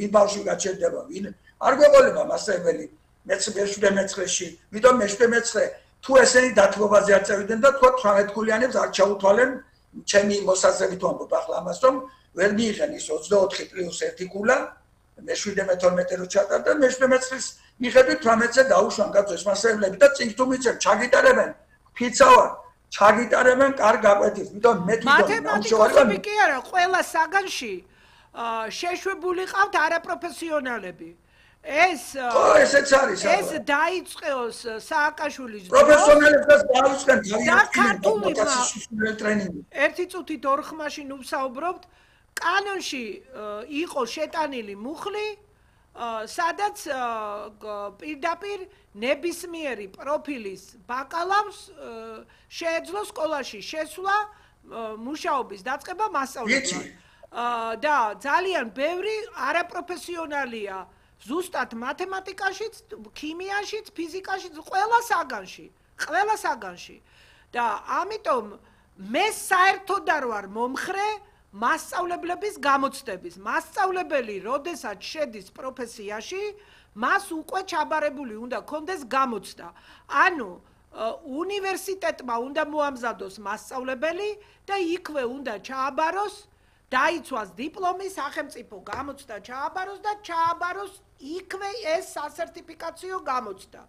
ვინ ბავშვი გაჩერდება, ვინ არ გვეყოლება მასწავლებელი მეცხრეში, ვიდრე მეცხრე თუ ესენი დათმობაზე არ წევიდნენ და თქვა 18 ქულიანებს არ ჩაუთვალენ ჩემი მოსაზრებით ვამბობ ახლა ამას რომ ვერ მიიღენ ის 24 პლუს 1 ქულა მე-17-12 რო ჩატარდა მე-17-ის მიხედვით 18-ზე დაუშვან კაცებს მასწავლებლები და წინ თუ მიცემ ჩაგიტარებენ ფიცავარ ჩაგიტარებენ კარგ გაკვეთილს ვიდრე მე თვითონ მათემატიკოსები კი არა ყველა საგანში შეშვებული ყავთ არაპროფესიონალები ესეც არის ეს დაიწყოს სააკაშვილის პროფესიონალებს დაუწყენ და ქართულმა ტრენინგი ერთი წუთით ორ ხმაში ვსაუბრობთ კანონში იყო შეტანილი მუხლი სადაც პირდაპირ ნებისმიერი პროფილის ბაკალავრს შეეძლო სკოლაში შესვლა მუშაობის დაწყება მასწავლებლად და ძალიან ბევრი არაპროფესიონალია ზუსტად მათემატიკაშიც, ქიმიაშიც, ფიზიკაშიც, ყველა საგანში. და ამიტომ მე საერთოდ არ ვარ მომხრე მასწავლებლების გამოცდების. მასწავლებელი, როდესაც შედის პროფესიაში, მას უკვე ჩაბარებული უნდა კონდეს გამოცდა. ანუ უნივერსიტეტმა უნდა მოამზადოს მასწავლებელი და იქვე უნდა ჩააბაროს დაიცვას დიპლომი, სახელმწიფო გამოცდა ჩააბაროს და ჩააბაროს იქვე ეს სასერტიფიკაციო გამოცდა.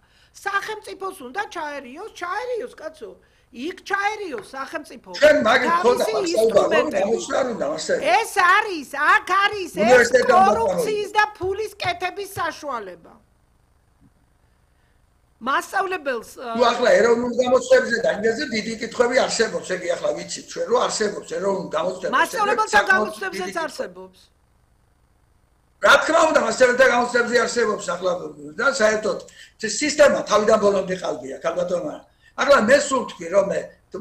სახელმწიფოს უნდა ჩაერიოს კაცო. იქ ჩაერიოს სახელმწიფო. ეს არის, აქ არის ეს კორუფციის და ფულის კეთების საშუალება. მასწავლებელს თუ ახლა ეროვნულ გამოცდებზე და ინგლისზე დიდი კითხვები არსებობს, ეგ ახლა ვიცით ჩვენ რომ არსებობს ეროვნულ გამოცდებზე. მასწავლებელთა გამოცდებზეც არსებობს. რა თქმა უნდა, მასწავლებელთა გამოცდებზე არსებობს ახლა და საერთოდ სისტემა თავიდან ბოლომდე ყალბია, ქალბატონო. ახლა მე სულ თქვი რომ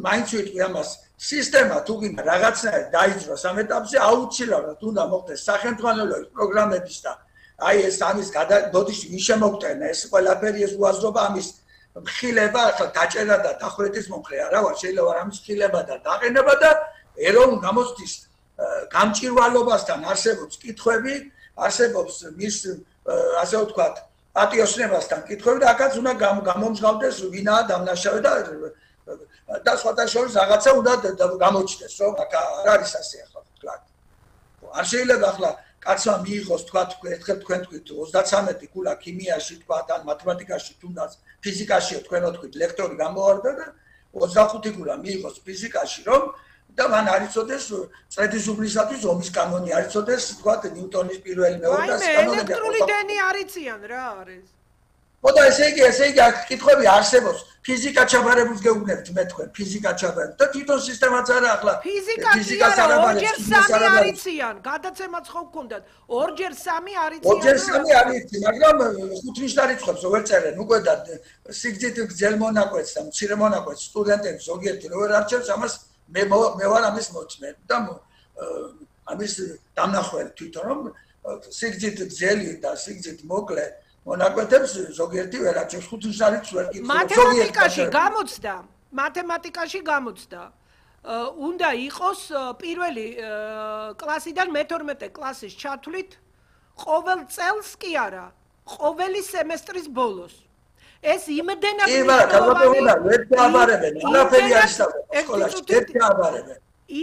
მაინც ვიტყვი ამას, სისტემა თუ გინდა რაღაცნაირად დაიძროს ამ ეტაპზე, აუცილებლად უნდა მოხდეს სახელმძღვანელოების პროგრამების და აი ეს ამის ბოდიში ვინ შემოგტენა ეს ყველაფერი ეს უაზრობა ამის მხილება ახლა დაჭერა და დახვრეტის მომხრე არა ვარ შეიძლება არ ამის მხილება და დაყენება და ეროვნულ გამოცდის გამჭირვალობასთან არსებობს კითხვები არსებობს მის ასე ვთქვათ პატიოსნებასთან კითხვები და აქაც უნდა გამომჟღავდეს ვინაა დამნაშავე და სხვათა შორის რაღაცა უნდა გამოჩნდეს რომ აქ არ არის ასე ახლა ვთქვათ არ შეიძლება ახლა კაცმა მიიღოს თქვათ ერთხელ თქვენ თქვით 33 ქულა ქიმიაში თქვათ ან მათემატიკაში თუნდაც ფიზიკაშიო თქვენო თქვით ლექტორი გამოვარდა და 25 ქულა მიიღოს ფიზიკაში რომ და მან არ იცოდეს წრედის უბნისათვის ომის კანონი არ იცოდეს თქვათ ნიუტონის პირველი მეორე და კანონები ელექტრული დენი არიციან რა არის ხოდა ესე იგი აქ კითხვები არსებობს ფიზიკა ჩაბარებულს გეუბნებთ მე თქვენ ფიზიკა ჩაბარებულს და თვითონ სისტემაც არა ახლა ფიზიკას ორჯერ 3 არიციან გადაცემაც ხო გქონდათ ორჯერ 3 არიციან ორჯერ 3 არიცი მაგრამ 5 ნიშნა რიცხვებს ვერ წერენ უკვე და სიგრძით გძელ მონაკვეთს და მცირე მონაკვეთს სტუდენტებს ზოგიერთი რო ვერ არჩევს ამას მე ვარ ამის მოწმე და ამის დამნახველი თვითონ რომ სიგრძით გძელი და სიგრძით მოკლე მონაკვეთებს ზოგიერთი ვერ აჩვენს 5 ნიშნით ვერ კითხულობს მათემატიკაში გამოცდა უნდა იყოს პირველი კლასიდან მე-12 კლასის ჩათვლით ყოველ წელს კი არა ყოველი სემესტრის ბოლოს ეს იმდენად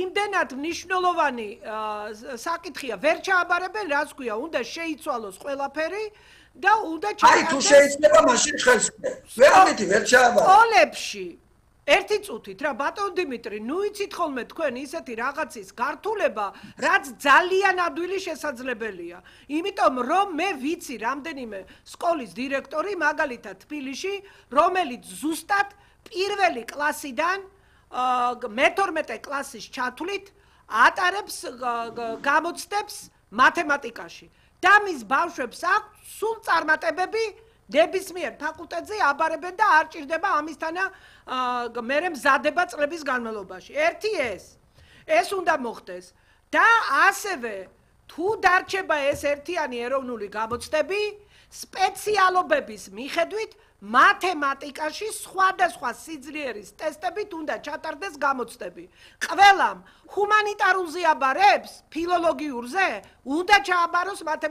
იმდენად მნიშვნელოვანი საკითხია ვერ ჩააბარებენ რაც ქვია უნდა შეიცვალოს ყველაფერი და უნდა აი თუ შეიძლება მაშინ ხელს ვერაფერი ვერ ჩააბარა სკოლებში ერთი წუთით რა ბატონ დიმიტრი ნუ იცით ხოლმე თქვენ ისეთი რაღაცის გართულება რაც ძალიან ადვილი შესაძლებელია იმიტომ რომ მე ვიცი რამდენიმე სკოლის დირექტორი მაგალითად თბილისში რომელიც ზუსტად პირველი კლასიდან მე-12 კლასის ჩათვლით ატარებს გამოცდებს მათემატიკაში და მის ბავშვებს აქვს სულ წარმატებები ნებისმიერ ფაკულტეტზე აბარებენ და არ ჭირდება ამისთანა მერე მზადება წლების განმავლობაში. ერთი ეს უნდა მოხდეს და ასევე თუ დარჩება ეს ერთიანი ეროვნული გამოცდები, სპეციალობების მიხედვით მათემატიკაში სხვადასხვა სიძლიერის ტესტებით უნდა ჩატარდეს გამოცდები. ყველამ ჰუმანიტარულზე აბარებს, ფილოლოგიურზე უნდა ჩააბაროს